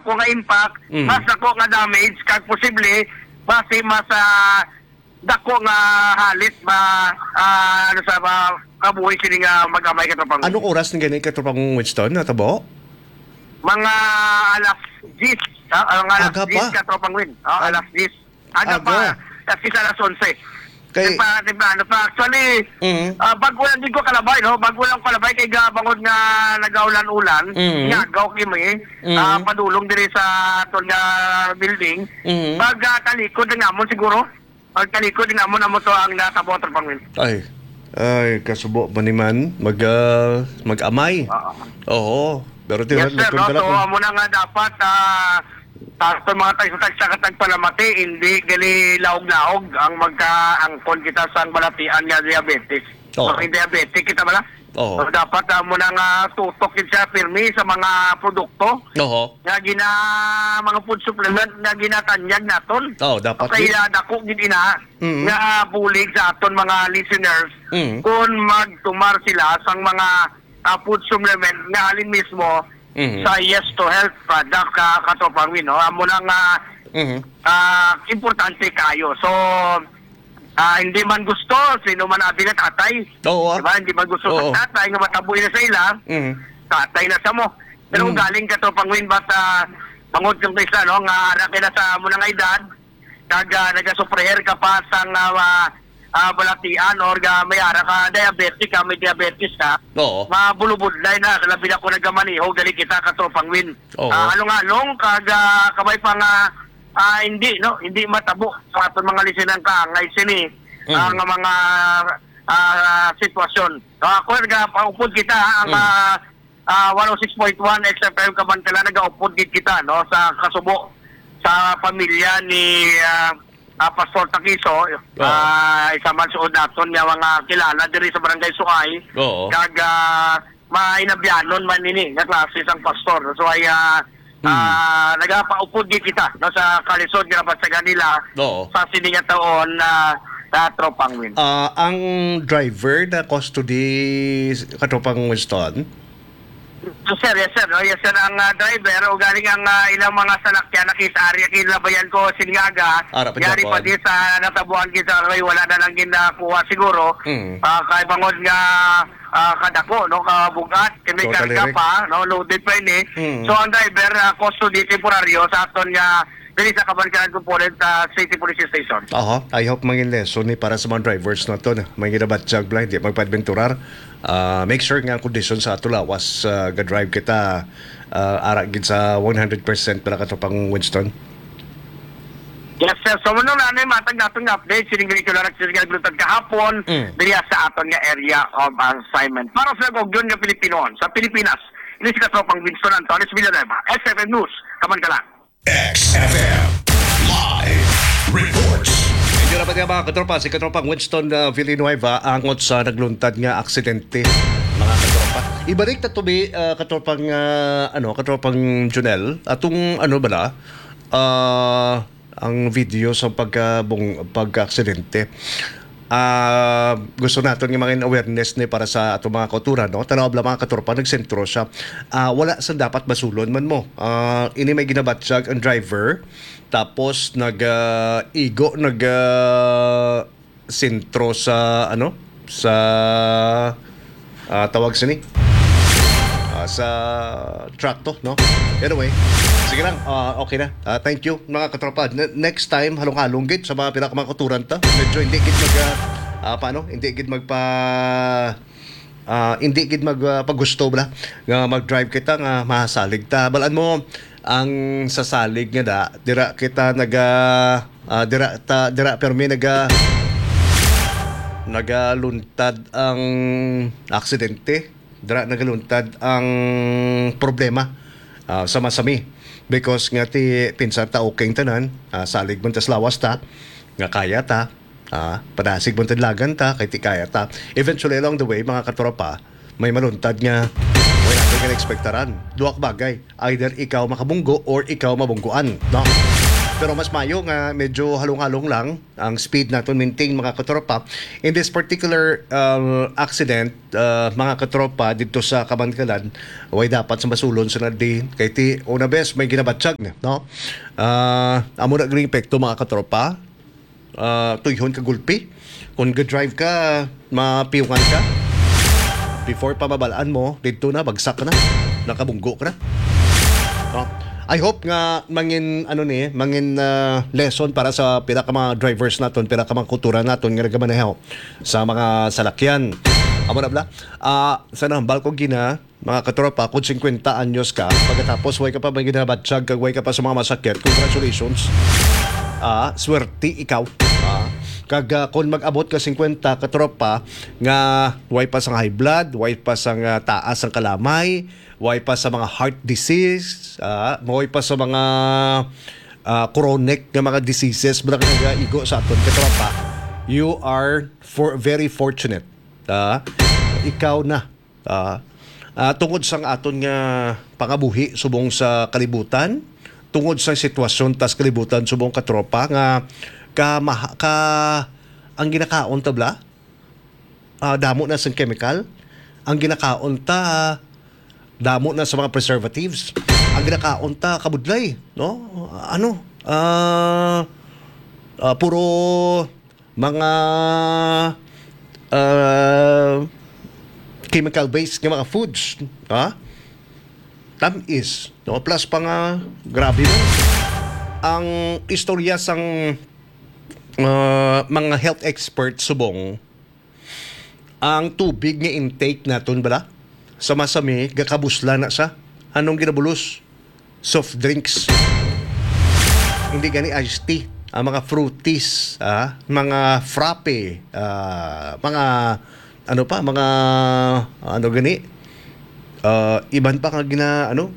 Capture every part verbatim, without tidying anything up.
ko nga impact, Mm. mas dako nga damage, kag posible, basi mas, ah, dako nga halit ba, ah, ano sa ba, kabuhi sini nga mag-amay, Katropang Win. Anong oras ni gani, Katropang Winston, natabo? Mga alas diyes, ah, ang alas Aga diyes, pa. Katropang Win. Ah, Ag-, alas diyes. Aga aga. pa, at least alas onse. Kay Tempa-, temprano pa. Actually, Mm. ah, bago lang din ko kalabay, no? Bago lang kalabay kay ga-, bangod nga nagaulan-ulan, Mm. nga agaw kami, Mm. ah, padulong diri sa aton nga building. Mm. Pag, ah, talikod na namon siguro. Pag talikod na namon, amo to ang natabo, Katropang Win. Ay. Ay, kasubo ba ni man mag, ah, mag-amay? Oo. Oo. Pero Yes, tiwan, sir, no? So, amo na nga dapat, ah, sa mga tagsa-tagsa ka tagpalamati, hindi gali laog-laog ang magkaangkon kita sa balatian nga diabetes. Oo. So, may diabetic kita bala. Oo. So, dapat, ah, mo na nga tutok gid siya pirmi sa mga produkto Oo. nga gina-, mga food supplement nga ginatanyag naton. Oo, dapat Kaya yun. dako gid ina Mm. nga bulig sa aton mga listeners Mm. kung magtumar sila sang mga, ah, food supplement nga halin mismo Mhm. sa Yes to Health product, ka, Katropang Win, no? Amo na nga, Mhm. ah, importante kayo. So, ah, hindi man gusto, sino man abi nga tatay. Oo, ah. Diba? Hindi man gusto Oo. sa tatay nga matabo na sa ila, Mhm. tatay na sa mo. Pero Mhm. kung galing, Katropang Win, but, ah, bangod kang isa, no, nga ara kay na sa amo na nga edad, kag, ah, nagasufriher ka pa sang, ah, ah, balatian or ga may ara ka diabetic ka, may diabetes ka, Oo. mabulubudlay na, labi na kung nagamaneho, gali kita, Katropang Win. Oo. Ah, along-along, kag, ah, kabay pa nga, ah, hindi, no? Hindi matabo sa aton mga listener ka, nga sini, Mm. ah, nga mga, ah, sitwasyon. So, ako, nagapaupod kita, ha, ang, Mm. ah, ah, one oh six point one X F M Kabankalan, nagaupod gid kita, no, sa kasubo sa pamilya ni, ah, ah, Pastor Takiso, Oo. ah, isa man suod naton nga mga kilala diri sa Barangay Suay. Oo. Kag, ah, mainabyanon man ini nga klase sang pastor. So, ay, ah, Hmm. ah, nagapaupod gid kita, no, sa kalisod nga nabatyagan nila Oo. sa sini nga taon na, na Katropang Win. Ah, ang driver na custody, Katropang Winston? Yes, sir. Yes, sir. No? Yes, sir. Ang, ah, driver, o galing ang, ah, ilang mga salakyan na case area, kinabayan ko, Singaga, Ara pa yari pa gihapon. Di sa natabuan kita, kay wala na lang ginakuha siguro. Mm. Ah, kay bangod nga, ah, kadako, no, kabugat, kay may Totally karga correct. Pa, no, loaded pa ini. Mm. So, ang driver, ah, custody temporaryo sa aton nga diri sa Kabankalan Component, ah, City Police Station. Aha, I hope mangin lesson ni para sa mga drivers naton. May ginabatyag bala, hindi magpaadventurar. Ah, make sure nga ang kondisyon sa ato lawas, ah, ga-drive kita, ah, ara gid sa one hundred percent para Katropang Winston. Yes, sir. So, muna na, ano yung matag natin nga update? Sining ganito lang, nagsisigil glutan kahapon, Mm. diri sa aton nga area of assignment. Para sa Gogyon nga Pilipino, sa Pilipinas, ini si Katropang Winston Antones Villanueva, S F M News, Kabankalan. X F M Live Reports. Medyo dapat nga, mga katropa, si Katropang Winston, uh, Villanueva angot sa nagluntad nga aksidente, mga katropa. Ibalik ta to, bi, uh, katropang, uh, ano, Katropang Junel, atong, ano bala, uh, ang video sa pagkabung-, pagka-aksidente. Ah, gusto naton nga mangin awareness ni para sa ato mga kauturan, no? Tanaw bala, mga katropa, nagsentro siya. Ah, wala sa dapat basulon man mo. Ah, ini may ginabatyag ang driver, tapos nag, ah, igo, nag, ah, sentro sa, ano, sa ah, tawag sini. Ah, sa trakto, no? Anyway, sige lang. Ah, okay na. Ah, thank you, mga katropa. Ne-, next time, halong-halong gid sa mga pila ka mga kauturan ta. Medyo hindi gid mag, ah, ah, paano? Hindi gid magpa-, ah, hindi gid mag, ah, pagusto bala nga mag-drive kita nga masalig ta. Balaan mo, ang sasalig nga da, dira kita naga, ah, dira ta, dira permi naga, nagaluntad ang aksidente, dira nagaluntad ang problema, ah, sa masami. Because nga ti, pinsan ta okay ang tanan, ah, salig man tas lawas ta, nga kaya ta, ah, padasig man tadlagan ta, kay ti kaya ta. Eventually, along the way, mga katropa, may maluntad nga wala natin gina-expectaran. Duha ka bagay, either ikaw makabunggo or ikaw mabungguan, no? Pero mas mayo nga medyo halong-halong lang ang speed naton, maintain, mga katropa. In this particular, uh, accident, uh, mga katropa, dito sa Kabankalan, way dapat sa masulon sa nadi. Kay ti, una bes, may ginabatyag, no? Uh, amo na gini epekto, mga katropa. Uh, tuyhon ka gulpi. Kung ga-drive ka, mapiungan ka. Before pa mabalaan mo, dito na, bagsak ka na. Nakabunggo ka na. No? I hope nga mangin, ano ni, mangin, ah, lesson para sa pila ka mga drivers naton, pila ka mga kultura naton nga nagamaneho sa mga salakyan. Amo na bala. Ah, sa nahambal ko gina, mga katropa, kung singkwenta anyos ka, pagkatapos way ka pa may ginabatyag kag way ka pa sa mga masakit, congratulations. Ah, swerte ikaw. Ah, kag, ah, kung mag-abot ka singkwenta, katropa, nga way pa sang high blood, way pa sang, ah, taas ang kalamay, way pa sa mga heart disease, ah, way pa sa mga, ah, chronic nga mga diseases, mga nagaigo sa aton, katropa, you are for, very fortunate. Ah, ikaw na. Ah, ah, tungod sang aton nga pangabuhi subong sa kalibutan, tungod sa sitwasyon tas kalibutan subong, katropa, nga ka, maha-, ka, ang ginakaon ta bala, ah, damo na sang chemical. Ang ginakaon ta, damo na sa mga preservatives. Ang ginakaon ta, kabudlay, no? Ano? Ah, ah, puro mga, ah, chemical-based nga mga foods, ha? Tamis, no? Plus pa nga, grabe man. Ang istorya sang, ah, mga health experts subong, ang tubig nga intake naton bala, sa masami, gakabusla na sa anong ginabulos? Soft drinks. Hindi gani iced tea. Ang mga fruities, ah, mga frappe, ah, mga, ano pa, mga, ano gani, ah, iban pa nga gina, ano,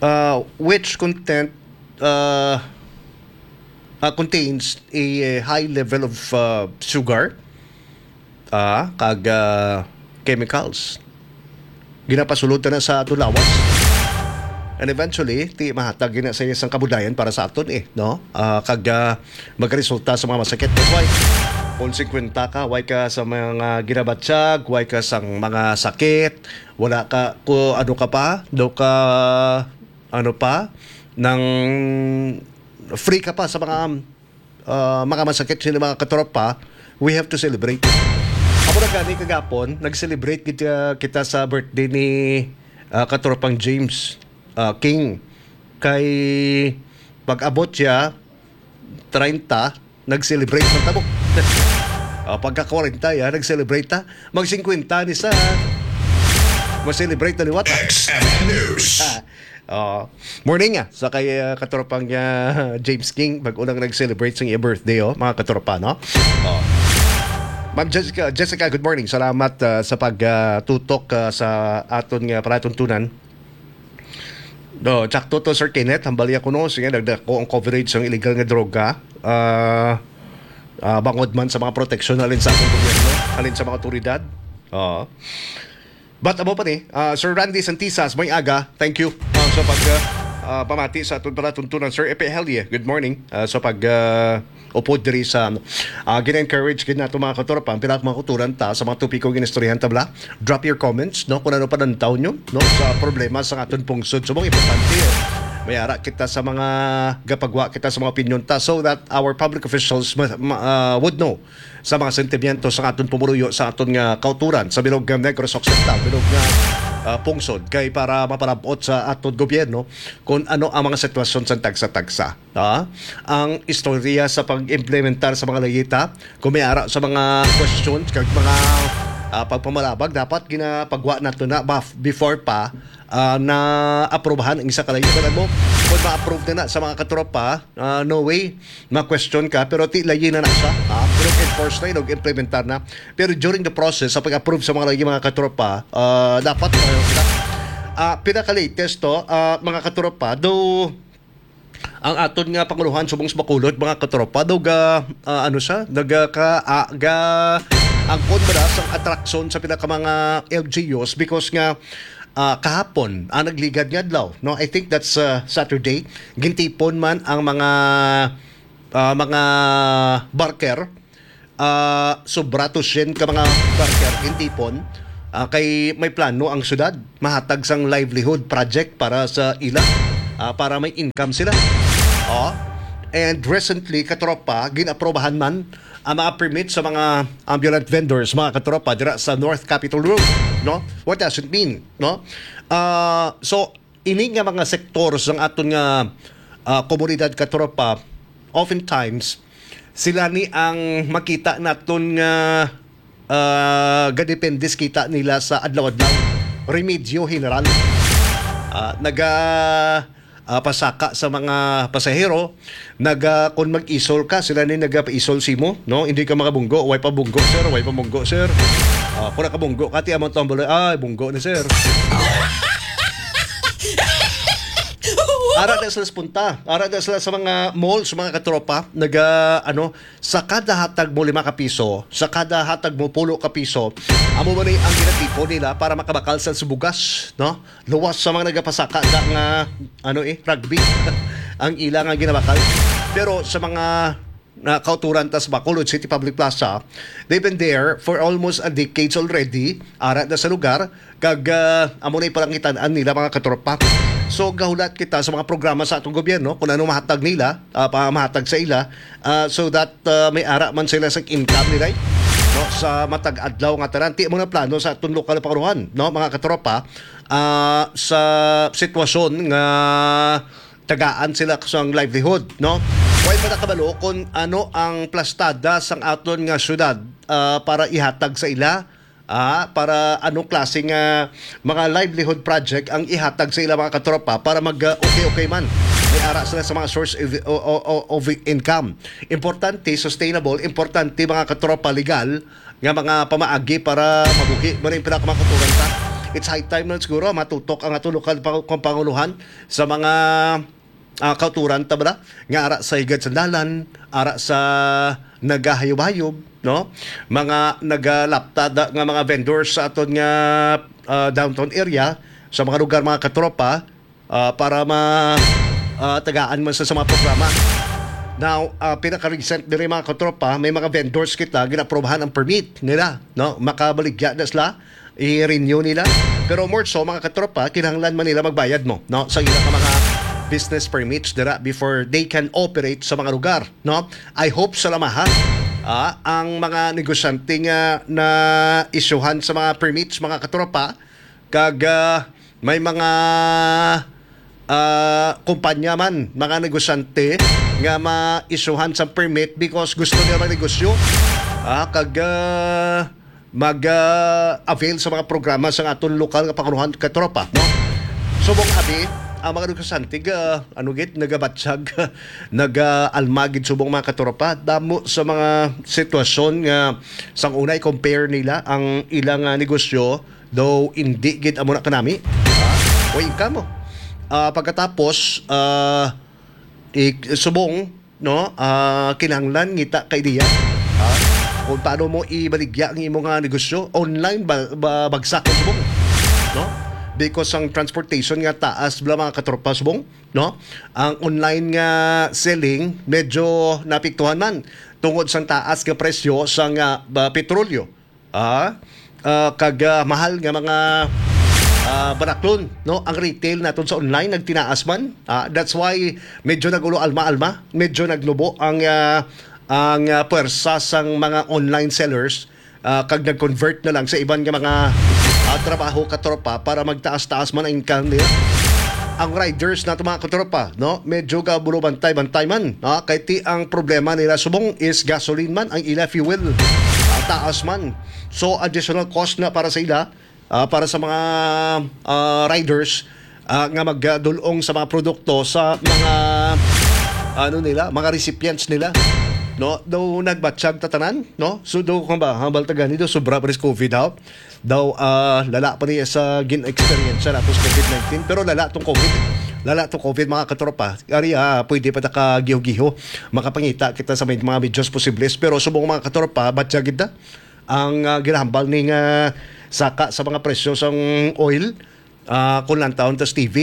ah, which content, ah, ah, contains a, eh, high level of, ah, sugar, ah, kag, ah, chemicals. Ginapasulod na sa aton lawas. And eventually, ti mahatag gina sa iya sang kabudayan para sa aton, eh, no? Ah, kag, ah, magresulta sa mga masakit. That's why, kung singkwenta ka, way ka sa mga ginabatyag, way ka sang mga sakit, wala ka, ko, ano ka pa, do ka, ano pa, nang free ka pa sa mga, ah, mga masakit sini, mga katropa, we have to celebrate. Ako na gani kagapon, nag-celebrate gid, ah, kita sa birthday ni, ah, katropang James, ah, King. Kay pag-abot siya, treinta, nag-celebrate man tabo. Ah, pagka kwarenta, ya, nag-celebrate ta. Mag singkwenta ni sa, ma-celebrate na liwat. X F M News. Ah, oh. Morning, ah, sa kay, ah, katropang, ah, James King, bag-o lang nag-celebrate sa iyang birthday, oh, mga katropa, no? Oh. Ma'am Jessica, Jessica, good morning. Salamat, ah, sa pag, ah, tutok, ah, sa aton nga palatuntunan. No, tsakto to, Sir Kenneth. Hambal ya kuno, sige, nagdako ang coverage sang illegal nga droga. Ah, ah, bangod man sa mga proteksyon halin sa ating gobyerno, halin sa mga otoridad. Oo. But amo pa ni, ah, Sir Randy Santisas, may aga. Thank you, ah, sa pag, ah, ah, pamati sa aton palatuntunan, Sir Epe Helie. Good morning. Ah, sa pag, ah, upod diri sa, ah, gina-encourage gid nato, mga katropa, ang pila ka mga kauturan ta sa mga topiko ginistoryahan ta bala. Drop your comments, no, kung ano panantaw nyo, no, sa problema sa aton pungsod. So, mga importante, eh, may ara kita sa mga gapagwa kita sa mga opinion ta so that our public officials ma- ma- ah, would know sa mga sentimiento sa aton pumuluyo, sa aton nga kauturan sa bilog nga Negros Occidental, bilog nga, ah, pungsod, kay para mapalabot sa aton gobyerno kung ano ang mga sitwasyon sa tagsa-tagsa. Ah, ang istorya sa pag-implementar sa mga layita, kung may ara sa mga questions kag mga, ah, pagpamalabag, dapat ginapagwa nato na baf-, before pa, ah, na aprubahan ang isa ka layita. Alam mo, kung ma-approve na na sa mga katropa, ah, no way, ma-question ka, pero ti layi na na siya, ha? Pero enforce na yun, implementar na. Pero during the process, sa pag-approve sa mga layi, mga katropa, ah, dapat, ah, ah, pinaka-latest to, ah, mga katropa, do ang aton nga panguluhan subong sa Bacolod, mga katropa, daw ga, ah, ano siya, naga, ka, ah, ga, angkon ba na sang atraksyon sa pila ka mga L G Us because nga ah, kahapon, ang nagligad nga adlaw, no? I think that's, ah, Saturday. Gintipon man ang mga, ah, mga barker, ah, sobra to syen ka mga barker gintipon, ah, kay may plano ang syudad mahatag sang livelihood project para sa ila, ah, para may income sila. Oh. And recently, katropa, ginaprobahan man ang mga permit sa mga ambulant vendors, mga katropa, dira sa North Capitol Road, no? What does it mean, no? Ah, so, ini nga mga sektor sang aton nga, ah, komunidad, katropa, oftentimes, sila ni ang makita naton nga, ah, gadepende sa kita nila sa adlaw-adlaw. Remedyo general. Ah, naga, ah, pasaka sa mga pasahero, naga, kung mag-isol ka, sila ni nagapaisol simo, no? Hindi ka makabunggo, way pa bunggo, sir, way pa bunggo, sir. Ah, kung nakabunggo ka, ti amon tong balay, ay, bunggo na, sir. Ara na sila sa punta. Ara na sila sa mga malls, mga katropa. Naga, ano, sa kada hatag mo lima ka piso, sa kada hatag mo pulo ka piso, amo man ni ang ginatipon nila para makabakal sa bugas, no? Luwas sa mga nagapasaka sa nga, ano eh, rugby. Ang ila nga ginabakal. Pero sa mga na kauturan ta sa Bacolod City Public Plaza, they've been there for almost a decades already. Ara na sa lugar, kag, ah, amo na ipalangitan-an nila, mga katropa. So, gahulat kita sa mga programa sa atong gobyerno kung ano mahatag nila, ah, pa mahatag sa ila, ah, so that, ah, may ara man sila sa income nila, no, sa matag adlaw nga tanan. Ti mo na plano sa atong lokal na pangulohan, no, mga katropa, ah, sa sitwasyon nga tagaan sila sang livelihood, no? Way pa nakabalo kung ano ang plastada sang aton nga syudad, ah, para ihatag sa ila, ah, para anong klase nga mga livelihood project ang ihatag sa ila, mga katropa, para mag, ah, okay-okay man. May ara sila sa mga source of, o- o- o- of income. Importante, sustainable, importante, mga katropa, legal nga mga pamaagi para mabuhi. Mao na yung pinakamakaturan ta. It's high time na siguro matutok ang ato lokal pa- panguluhan sa mga, ah, kauturan ta bala nga ara sa higad sa dalan, ara sa nagahayub-hayub, no? Mga nagalapta da- nga mga vendors sa aton nga, ah, downtown area, sa mga lugar, mga katropa, ah, para ma ah, tagaan man sa, sa mga programa. Now, ah, pinaka-recent diri, mga katropa, may mga vendors kita ginaprobahan ang permit nila, no? Makabaligya na sila, i-renew nila. Pero more so, mga katropa, kinahanglan man nila magbayad mo, no? Sa ila ka mga business permits dira before they can operate sa mga lugar, no? I hope sa lamaha, ah, ang mga negosyante nga na isyuhan sa mga permits, mga katropa, kag, ah, may mga, ah, kumpanya man, mga negosyante nga ma-issuehan sa permit because gusto nila magnegosyo, ah, kag, ah, mag, ah, avail sa mga programa sa aton lokal nga pangulohan, katropa, no? Subong abi, ang mga negosyante ga, ano gid, nagabatyag, nagaalma gid subong, mga katropa. Damo sa mga sitwasyon nga sang una i-compare nila ang ilang, ah, negosyo, though hindi gid amo na kanami. Ah, way income mo. Ah, pagkatapos, ah, ik- subong, no? Ah, kinahanglan ngita kay diya. Ah, kung paano mo ibaligya ang imo nga negosyo, online ba, ba bagsak ang subong, no? Because ang transportation nga taas bala, mga katropa, subong, no? Ang online nga selling medyo naapektuhan man tungod sang taas nga presyo sang, ah, ba, petrolyo. Ah, ah, kag, ah, mahal nga mga, ah, baraklon, no? Ang retail naton sa online nagtinaas man. Ah, that's why medyo nagulo alma-alma, medyo nagnubo ang, ah, ang, ah, puwersa sang mga online sellers, ah, kag nag-convert na lang sa iban nga mga, ah, trabaho, katropa, para magtaas-taas man ang income nila. Ang riders nato, mga katropa, no? Medyo gabulo bantay-bantay man, no? Kay ti ang problema nila subong is gasoline man, ang ila fuel, ah, taas man. So, additional cost na para sa ila, ah, para sa mga, ah, riders, ah, nga magdulong sa mga produkto sa mga, ano nila, mga recipients nila, no? Daw nagbatyag tatanan, no? So, daw kung ba, hambal ta gani, daw sobra pa rin sa covid, ha? Daw, ah, lala pa niya sa gin-experience nato sa covid nineteen. Pero lala tong covid. Lala tong covid, mga katropa. Ari, ah, pwede pa ta ka giho-giho. Makapangita kita sa may mga medyas posibles. Pero subong, mga katropa, batya gid na ang, ah, ginahambal ning, ah, saka sa mga presyo sang oil. Ah, kung lantawon ta sa T V,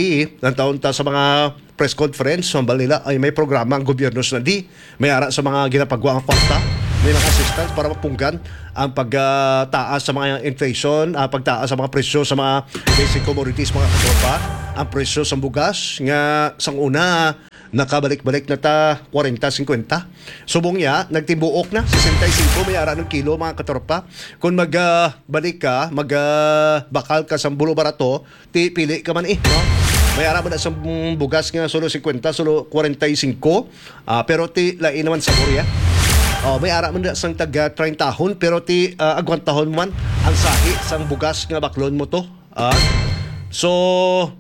lantawon ta sa mga press conference, hambal nila ay may programa ang gobyerno sa nandi. May ara sa mga ginapagwa nga kwarta, may mga assistance para mapunggan ang pagtaas sa mga inflation, ah, pagtaas sa mga presyo sa mga basic commodities, mga katropa. Ang presyo sa bugas nga sang una nakabalik-balik na ta kwarenta, singkwenta. Subong niya, nagtibuok na, sesenta y cinco may ara ng kilo, mga katropa. Kung mag, ah, balik ka, mag, ah, bakal ka sa bulo barato, ti pili ka man eh, no? May ara man na sa bugas nga solo singkwenta, solo kwarenta y cinco, ah, pero ti lain naman sa Korea. Oh, may ara man na sang taga treinta hon, pero ti, ah, agwantahon man ang sahi sang bugas nga baklon mo to. Ah. So,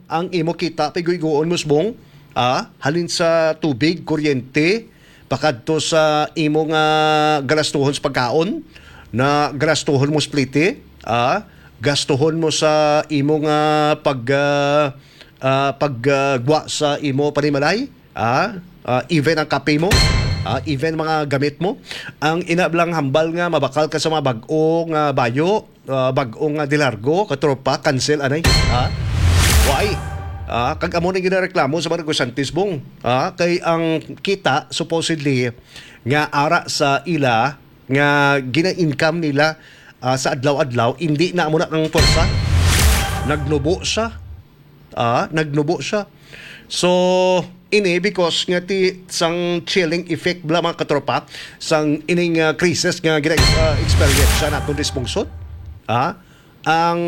ang imo kita, piguiguon mo subong, ah, halin sa tubig, kuryente, pakadto sa imo nga galastuhon sa pagkaon, na galastuhon mo sa plite, ah, gastuhon mo sa imo nga pag, ah, ah, pag, ah, gwa sa imo panimalay, ah, ah, even ang kape mo, ah, even mga gamit mo, ang ina lang hambal nga mabakal ka sa mga bag-o nga bayo, ah, bag-o nga dilargo, katropa, cancel anay, ha? Why? Ah, kag amo na ginareklamo sa mga negosyante subong, ah, kay ang kita supposedly nga ara sa ila nga gina-income nila, ah, sa adlaw-adlaw, hindi na amo na ang pwersa. Nagnubo siya. Ah, nagnubo siya. So, ini because nga ti sang chilling effect bala, mga katropa, sang ining, ah, crisis nga gina, ah, experience sa naton responsyon. Ah, ang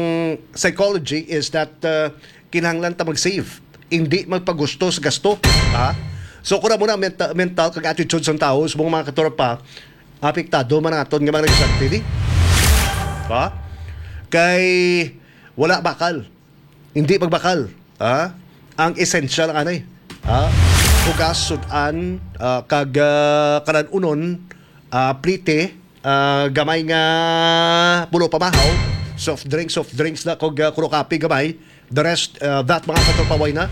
psychology is that, ah, kinahanglan ta mag-save, hindi magpagusto sa gasto. Ah, so kung amo na menta-, mental kag attitude sang tawo, subong, mga katropa, apektado man ang aton nga mga negosyante, di ba? Kay wala bakal. Hindi magbakal, ha? Ang essential ang anay, ha? Bugas, sud-an, ah, kag, ah, kalan-unon, ah, plite, ah, gamay nga bulo pamahaw, soft drinks, soft drinks na, kag, ah, kuno kape gamay. The rest, ah, that, mga katropa, way na.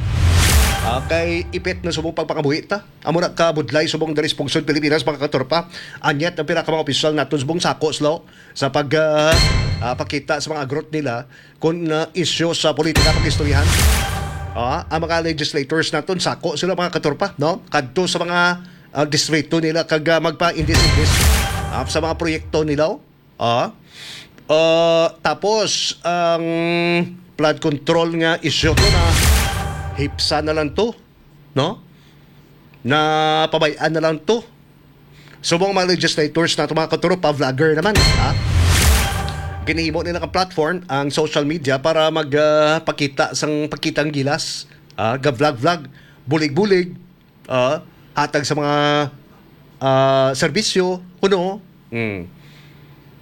Ah, kay ipit na subong pagpangabuhi ta. Amo na kabudlay subong diri sa pungsod Pilipinas, mga katropa. And yet, ang pila ka mga opisyal naton subong sako sila sa pag, ah, ah, pakita sa mga agrot nila kung, ah, isyu sa politika pag-istoryahan. Ah, ang mga legislators naton, sako sila, mga katropa, no? Kadto sa mga, ah, distrito nila kag, ah, magpa-indis-indis, ah, sa mga proyekto nila. Ah, ah, tapos ang flood control nga isyu to na hipsa na lang to, no? Na pabay-an na lang to. Subong mga legislators nato, mga katropa, vlogger naman, ha? Ginahimo nila ang platform, ang social media, para mag, ah, pakita sang, pakita ang gilas, ah, ga-vlog-vlog, bulig-bulig, ah, hatag sa mga, ah, serbisyo, kuno, mm,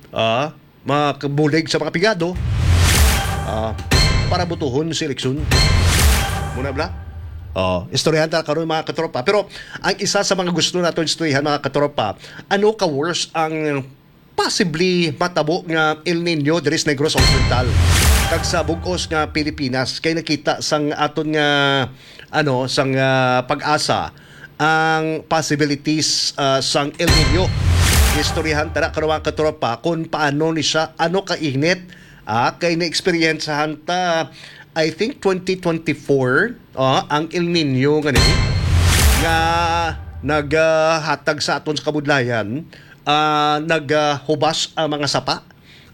ah, mga kabulig sa mga pigado, ah, para butuhon sa eleksyon. Muna bala? Oh, istoryahan ta karon, mga katropa. Pero ang isa sa mga gusto naton istoryahan, mga katropa, ano ka worse ang possibly matabo nga El Nino diri sa Negros Occidental kag sa bug-os nga Pilipinas, kay nakita sang aton nga, ano, sang, ah, PAGASA ang possibilities, ah, sang El Nino. Istoryahan ta na karon, mga katropa, kung paano ni siya, ano ka init, ah, kay na-experiencehan ta, I think, twenty twenty-four, ah, ang El Nino nga ni, nga naghatag sa aton sa kabudlayan, ah, naghubas ang mga sapa,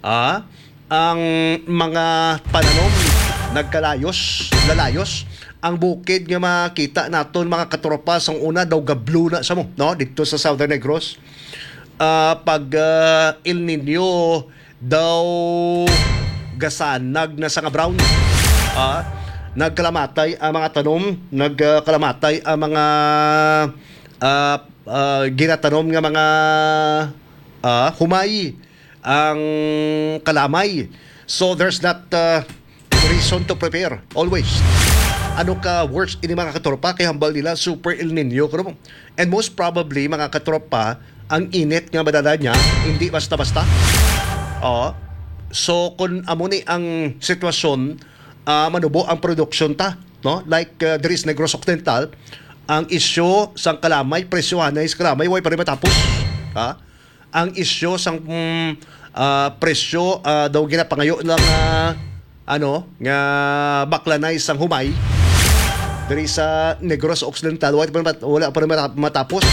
ah, ang mga pananom nagkalayos, lalayos. Ang bukid nga makita naton, mga katropa, sang una daw gablo na sa mo, no? Dito sa Southern Negros. Ah, pag, ah, El Nino daw gasanag na sa nga brown. Ah, nagkalamatay ang mga tanom, nagkalamatay ang mga, ah, ah, ginatanom nga mga, ah, humay, ang kalamay. So there's that, uh, reason to prepare always. Ano ka worse ini, mga katropa, kay hambal nila super El Nino kuno. And most probably, mga katropa, ang init nga madala niya hindi basta-basta. Oh. So kung amo ni ang sitwasyon, ah, manubo ang production ta, no? Like, uh, diri sa Negros Occidental, ang isyu sang kalamay, presyohan na sa kalamay, way pa rin matapos. Ha? Ang isyu sang, mm, ah, presyo, ah, daw ginapangayo lang, ah, ano, nga baklanay sang humay diri sa Negros Occidental, wala pa mat-, wala pa rin mata-, matapos.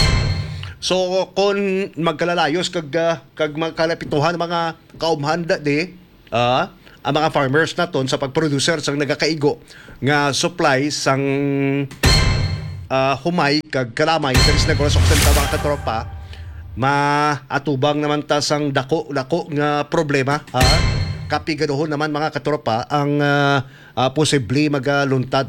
So, kung magkalalayos kag, ah, kag magkalapituhan ang mga kaumhan da-, di, ah, ang mga farmers naton sa pag-producer sang nagakaigo nga supply sang, ah, humay kag kalamay diri sa Negros Occidental, mga katropa, maatubang naman ta sang dako-dako nga problema, ha? Kapigaduhon naman, mga katropa, ang, ah, ah, posible magaluntad.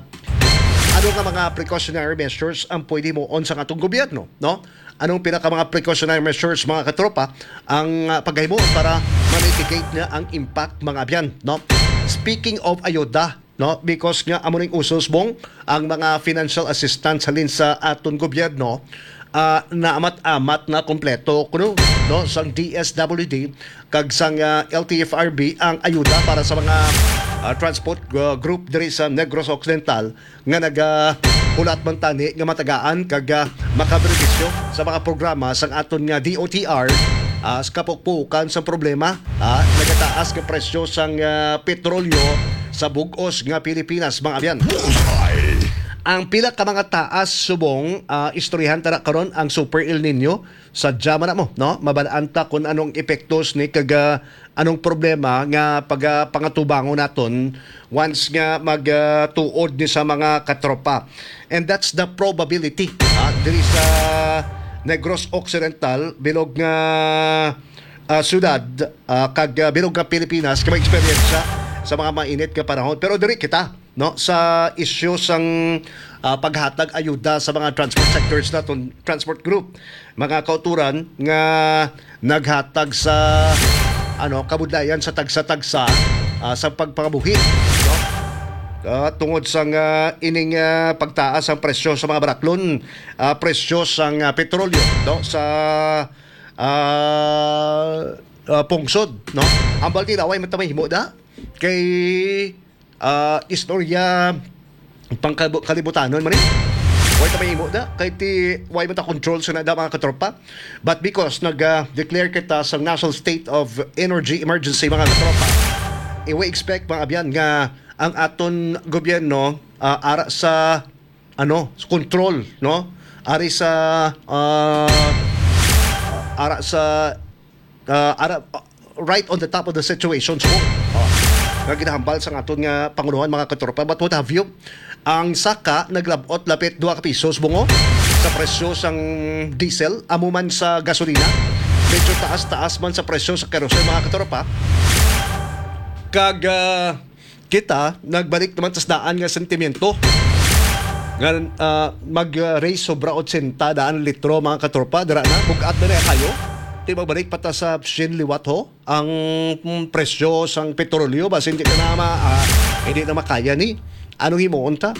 Ano nga mga precautionary measures ang pwede himuon sang atong gobyerno, no? Anong pinaka mga precautionary measures, mga katropa, ang, ah, pagahimo para ma-mitigate na ang impact, mga abyan, no? Speaking of ayuda, no? Because nga amo ning usos, Bong, ang mga financial assistance halin sa aton gobyerno, ah, naamat-amat na kompleto kuno, no, sang D S W D kag sang, ah, L T F R B ang ayuda para sa mga, ah, transport, ah, group diri sa Negros Occidental nga nagahulat man tani nga matagaan kag, ah, makabenepisyo sa mga programa sang aton nga D O T R, ah, sa kapukpukan sa problema, ah, nagataas nga presyo sang, ah, petrolyo sa bug-os nga Pilipinas, mga abyan. Bullseye. Ang pila ka mga taas subong, ah, istoryahan ta na karon ang Super El Nino. Sadya man na mo, no? Mabalaan ta kung anong epektos ni kag, ah, anong problema nga pag, ah, pangatubangon naton once nga mag, ah, tuod ni sa mga katropa. And that's the probability, ah, diri sa Negros Occidental, bilog nga, ah, syudad, ah, kag, ah, bilog nga Pilipinas nga may eksperyensya sa mga mainit nga panahon. Pero diri kita, no, sa isyu sang, ah, paghatag ayuda sa mga transport sectors naton, transport group, mga kauturan nga naghatag sa, ano, kabudlayan sa tagsa-tagsa, ah, sa pagpangabuhi, no? Ah, tungod sang, ah, ining, ah, pagtaas ang presyo sa mga baraklon, ah, presyo sang, ah, petrolyo, no, sa, ah, ah, pungsod, no? Ang baldi daw ay matamay himo da kay, ah, istorya pangkalibu-, kalibutanon man eh. Way ta mahimo da kay ti way man ta control sa nada, mga katropa. But because nag, ah, declare kita sa National State of Energy Emergency, mga katropa, eh, we expect, mga abyan, nga ang aton gobyerno, ah, ara sa, ano, control, no? Ari sa, ah, ara sa, ah, ara, ah, right on the top of the situation, so, oh, nga ginahambal sa aton nga pangulohan, mga katropa. But what have you? Ang saka naglabot lapit dua ka pisos, bungo, sa presyo sang diesel, amo man sa gasolina. Medyo taas-taas man sa presyo sa kerosene, mga katropa. Kag, ah, kita, nagbalik naman sa daan nga sentimiento nga, ah, mag-raise sobra otsenta daan litro, mga katropa. Dira na, bug-at na na kayo. Ti magbalik pa ta sa syen liwat, ho, ang, mm, presyo sang petrolyo, basi hindi ka na ma-, ah, hindi na makaya ni. Anong himuon ta?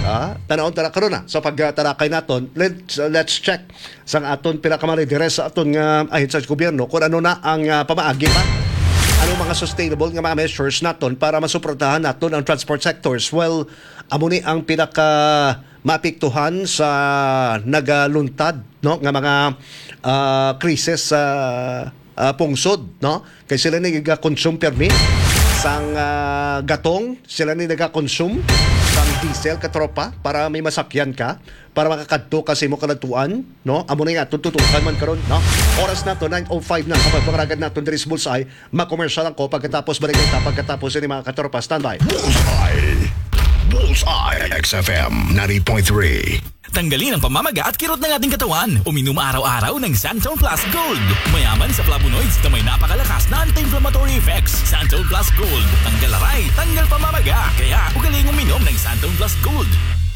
Ah, tanawon ta na karon na sa pagtarakay naton. Let's, let's check sang aton pila ka mga lideres sa aton nga ahensya sa gobyerno kung ano na ang, ah, pamaagi pa. Ano mga sustainable nga mga measures naton para masuportahan naton ang transport sectors? Well, amo ni ang pinaka maapektuhan sa nagaluntad, no, nga mga, ah, krisis sa, ah, pungsod, no? Kay sila ni nagakonsume permi sang, ah, gatong, sila ni nagakonsume sang diesel, katropa, para may masakyan ka, para makakadto ka sa imo kaladtuan, no? Amo na nga, tututukan man karon, no? Oras nato, nine oh five na sa pagpangaragad naton diri sa Bullseye. Makomersyal lang ko pagkatapos, balik kita pagkatapos ini, mga katropa. Standby. Bullseye. Bullseye. X F M ninety point three. Tanggalin ang pamamaga at kirot ng ating katawan. Uminom araw-araw ng Santon Plus Gold. Mayaman sa flavonoids na may napakalakas na anti-inflammatory effects. Santon Plus Gold. Tanggal aray, tanggal pamamaga. Kaya, ugaling uminom ng Santon Plus Gold.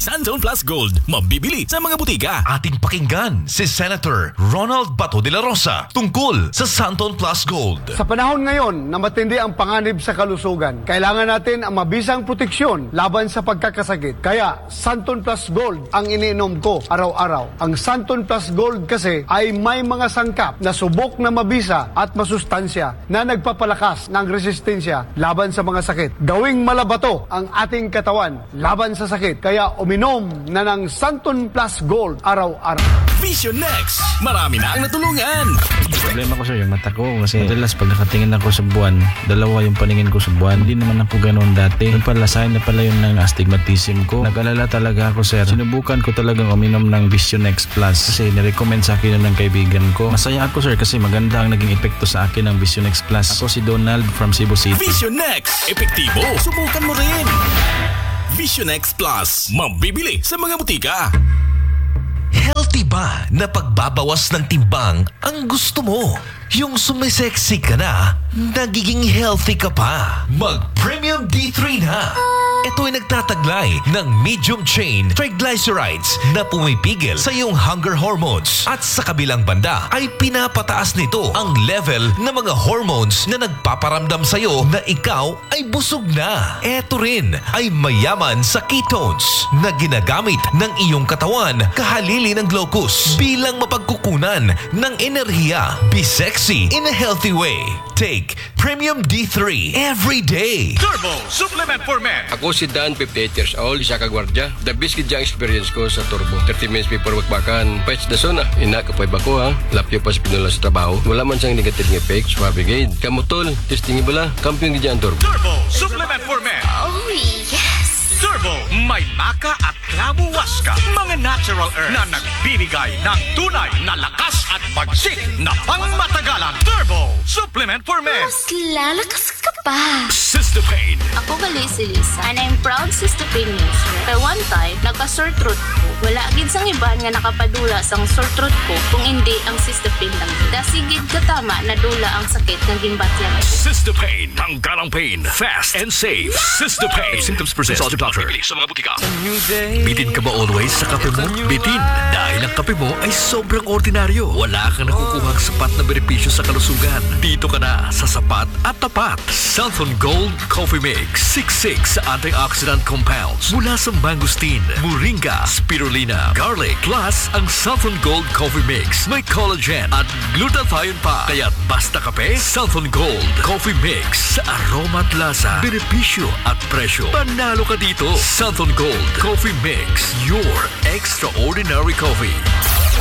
Santon Plus Gold. Mabibili sa mga butika. Ating pakinggan si Senator Ronald Bato de la Rosa tungkol sa Santon Plus Gold. Sa panahon ngayon na matindi ang panganib sa kalusugan, kailangan natin ang mabisang proteksyon laban sa pagkakasakit. Kaya, Santon Plus Gold ang iniinom ko araw-araw. Ang Santon Plus Gold kasi ay may mga sangkap na subok na mabisa at masustansya na nagpapalakas ng resistensya laban sa mga sakit. Gawing malabato ang ating katawan laban sa sakit. Kaya Inom na ng Santon Plus Gold araw-araw. Vision X, marami na ang natulungan. Problema ko, sir, yung mata ko. Kasi madalas pag nakatingin ako sa buwan, dalawa yung paningin ko sa buwan. Hindi naman ako ganoon dati. Yung pala, sign na pala yun ng astigmatism ko. Nag-alala talaga ako, sir. Sinubukan ko talagang uminom ng Vision X Plus kasi nirecommend sa akin yun ng kaibigan ko. Masaya ako, sir, kasi maganda ang naging epekto sa akin ng Vision X Plus. Ako si Donald from Cebu City. Vision X, epektibo. Subukan mo rin. Vision X Plus, mabibili sa mga butika. Healthy ba na pagbabawas ng timbang ang gusto mo? Yung sumisexy ka na, nagiging healthy ka pa. Mag Premium D three na. Ito ay nagtataglay ng medium chain triglycerides na pumipigil sa iyong hunger hormones at sa kabilang banda ay pinapataas nito ang level ng mga hormones na nagpaparamdam sa iyo na ikaw ay busog na. Eto rin ay mayaman sa ketones na ginagamit ng iyong katawan kahalili ng glucose bilang mapagkukunan ng enerhiya. Be sexy in a healthy way. Take Premium D three every day. Turbo Supplement for Men. Ako si Dan, fifty-eight years old, isa ka gwardya. The best gid ang experience ko sa Turbo. Thirty minutes before bakbakan, pets the zone ah. Ina, kapay ba ko ha? Lapyo pa sa pinula sa trabaho. Wala man sang negative nga effect, suabe gid. Kamo tol, testing bala. Kampiyon gid ang Turbo. Turbo Supplement for Men. Oh, yes! Turbo, may maca at clavo huasca. Mga natural herbs na nagbibigay ng tunay na lakas at bagsik na pangmatagalan. Turbo Supplement for Men. Mas lalakas ka pa! Sister Pain. Ako gali si Lisa, and I'm proud Sister Pain user. Kay one time, nagka-sore throat ko. Wala gid sang iban nga nakapadula sang sore throat ko kung indi ang Sister Pain lang. Dasi gid katama nadula ang sakit nga ginbatyan ko. Sister Pain. Tanggal ang pain. Fast and safe. Sister Pain. If symptoms persist, consult your doctor. Bibili sa mga butika. Bitin ka ba always sa kape mo? Bitin. Dahil ang kape mo ay sobrang ordinaryo. Wala kang nakukuhang sapat na benepisyo sa kalusugan. Dito ka na sa sapat at tapat. Santhon Gold Coffee Mix. Siksik sa antioxidant compounds mula sa mangosteen, moringa, spirulina, garlic. Plus, ang Santhon Gold Coffee Mix may collagen at glutathione pa. Kaya't basta kape, Santhon Gold Coffee Mix. Sa aroma at lasa, benepisyo at presyo, panalo ka dito. Santhon Gold Coffee Mix, your extraordinary coffee.